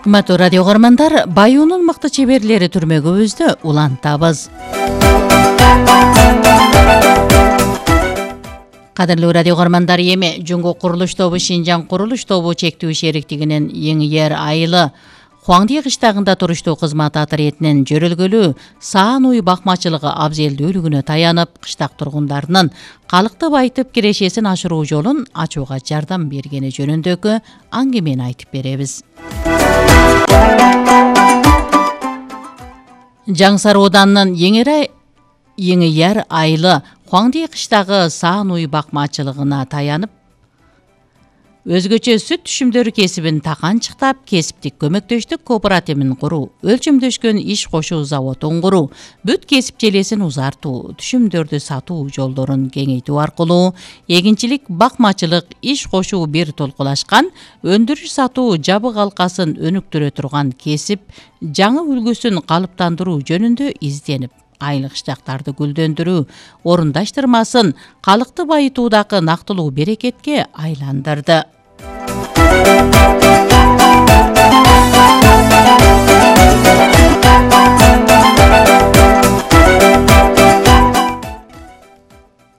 Кымбаттуу радио көрөрмандар, Баюунун мыкты чеберлери түрмөгүбүздү улантабыз. Кадырлуу радио көрөрмандар, эми Жуңго курулуш тобу Шинжаң курулуш тобу чектүү шериктигинин Эңиер айылы Хуаңди кыштагында туруштуу кызмат отрядынын жөрөлгөлүү саан уй бакмачылыгы абзелдүүлүгүнө таянып, кыштак тургундарынын калыкты байытып кирешесин ашыруу жолун ачууга жардам бергени жөнүндөгү аңгемени айтып беребиз. Жаңсар Оданынын Эңиер айылы Хуаңди кыштагы саан уй бакмачылыгына таянып, өзгөчө сүт түшүмдөрү кесибин таканчыктап, кесиптик көмөктөштүк кооперативин куруу, өлчөмдөшкөн иш кошуу заводун куруу, бүт кесип желесин узартуу, түшүмдөрдү сатуу жолдорун кеңейтүү аркылуу эгинчилик, бакмачылык, иш кошуу бир толкулашкан, өндүрүш сатуу жабык алкасын өнүктүрө турган кесип жаңы үлгүсүн калыптандыруу жөнүндө изденип, айыл кыштактарды гүлдөндүрүү орундаштырмасын калыкты байытуудагы нактылуу берекетке айландырды.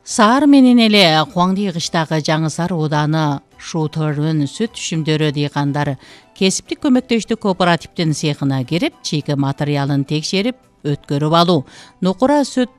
Саар менен эле Хуаңди кыштагы Жаңсар Ооданы Шутөрүн сүт түшүмдөрү дыйкандары кесиптик көмөктөштүк кооперативдин цехына кирип, чийки материалын текшерип, өткөрүп алуу, нукура сүт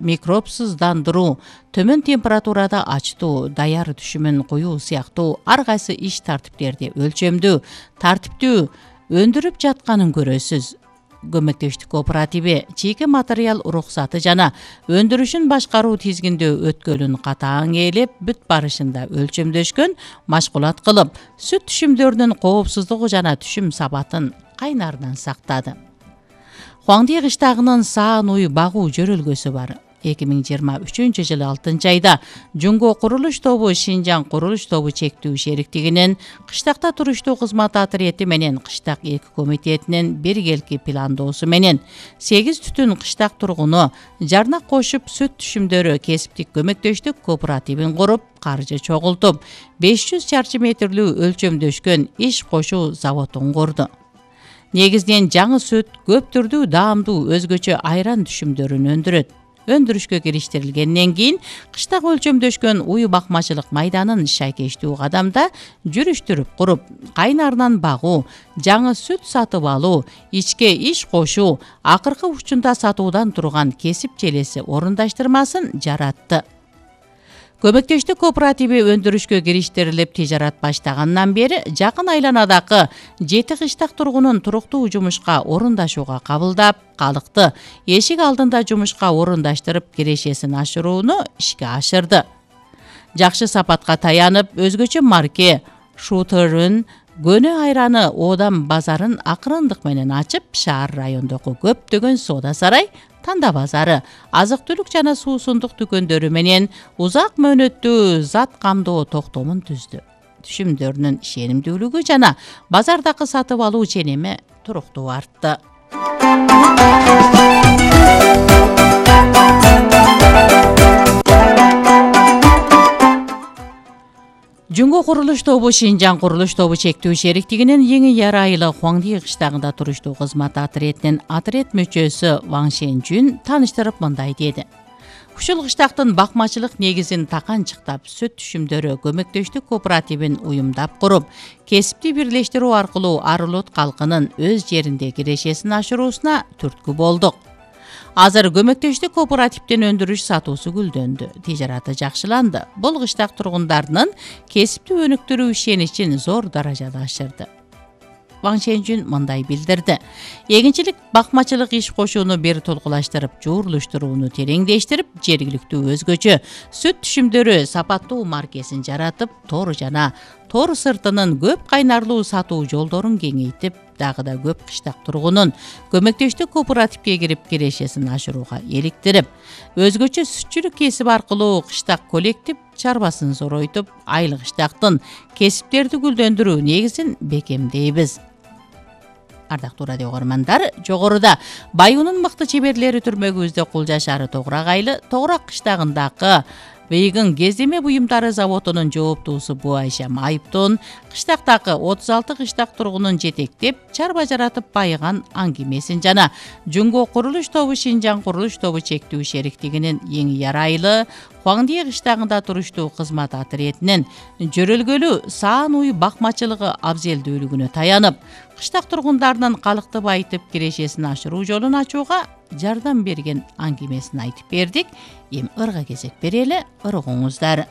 микробсуздандыруу, төмөн температурада ачтуу, даяр түшүмүн куюу сыяктуу ар кайсы иш тартиптерди өлчөмдүү, тартиптүү өндүрүп жатканын көрөсүз. Көмөктөштүк кооперативи чийки материал уруксаты жана өндүрүшүн башкаруу тизгиндөө өткөлүн катаң ээлеп, бүт барышында өлчөмдөшкөн, машгулат кылып, сүт түшүмдөрүнүн коопсуздугу жана түшүм сабатын кайнарынан сактады. Хуаңди кыштагынын саан уй багуу жөрөлгөсү бар. 2023 жылы 6 айда Жуңго курулуш тобу Шинжаң курулуш тобу чектүү шериктигинин кыштакта туруштуу кызмат отряды менен кыштак 2 комитетинин биргелки пландоосу менен 8 түтүн кыштак тургуну жарнак кошуп сүт түшүмдөрү кесиптик көмөктөштүк кооперативин куруп, каржы чогултуп, 500 чарчы метрлүү өлчөмдөшкөн иш кошуу заводун курду. Негизинен жаңы сүт, көп түрдүү даамдуу өзгөчө айран түшүмдөрүн өндүрөт. Өндүрүшкө кириштирилгенден кийин кыштак өлчөмдөшкөн уй бакмачылык майданын шайкештүү кадамда жүрүштүрүп куруп, кайнарынан багуу, жаңы сүт сатып алуу, ичке иш кошуу, акыркы учунда сатуудан турган кесип желеси орундаштырмасын жаратты. Көмөктөштүк кооперативи өндүрүшкө кириштирилип тижарат баштагандан бери жакын айланадагы 7 кыштак тургунун туруктуу жумушка орундашууга кабылдап, калыкты эшик алдында жумушка орундаштырып кирешесин ашырууну ишке ашырды. Жакшы сапатка таянып, өзгөчө марке Шутөрүн көнө айраны Оодам базарын акырындык менен ачып, шаар райондогу көптөгөн соода сарай, танда базары, азык-түлүк жана суусундук дүкөндөрү менен узак мөөнөттүү зат камдоо токтомун түздү. Түшүмдөрүнүн ишенимдүүлүгү жана базардагы сатып алуу ченеми туруктуу артты. Жуңго курулуш тобу Шинжаң курулуш тобу чектүү шериктигинин Эңиер айылы Хуаңди кыштагында туруштуу кызмат отрядынын отряд мүчөсү Ваң Шенжүн таныштырып мындай деди. Ушул кыштактын бакмачылык негизин таканчыктап, сүт түшүмдөрү көмөктөштүк кооперативин уюмдап куруп, кесипти бирлештирүү аркылуу Арылот калкынын өз жеринде кирешесин ашыруусуна түрткү болдук. Азыр көмөктөштүк кооперативдин өндүрүш сатуусу гүлдөндү, тижараты жакшыланды. Бул кыштак тургундарынын кесипти өнүктүрүү ишеничин зор даражада ашырды. Ваң Шенжүн мындай билдирди. Эгинчилик, бакмачылык иш кошууну бир толкулаштырып, жуурлуштурууну тереңдештирип, жергиликтүү өзгөчө сүт түшүмдөрү сапаттуу маркесин жаратып, тор жана тор сыртынын көп кайнарлуу сатуу жолдорун кеңейтип, дагы да көп кыштак тургунун көмөктөштүк кооперативге кирип кирешесин ашырууга иликтирип, өзгөчө сүтчүлүк кесип аркылуу кыштак коллектив чарбасын зоройтуп, айыл кыштактын кесиптерди гүлдөндүрүү негизин бекемдейбиз. Ардактуу радио көрөрмандар, жогоруда Баюунун мыкты чеберлери түрмөгүбүздө Кулжашары Тогурак айылы Тогурак кыштагындагы Быйгын кездеме буюмдары заводунун жооптуусу Бу Айшам Айыптын кыштактагы 36 кыштак тургунун жетектеп чарба жаратып байыган аңгемесин жана Жунго курулуш тобу Шинжаң курулуш тобу чектүү шериктигинин эң ярайлы Хуаңдие кыштагында туруштуу кызмат отрядынын жөрөлгөлүү саан уй бакмачылыгы абзелдүүлүгүнө таянып, кыштак тургундарынын калыкты байытып кирешесин ашыруу жолун ачууга жардам берген аңгемесин айтып бердик. Эми ырга кезек берели, ыргоңуздар.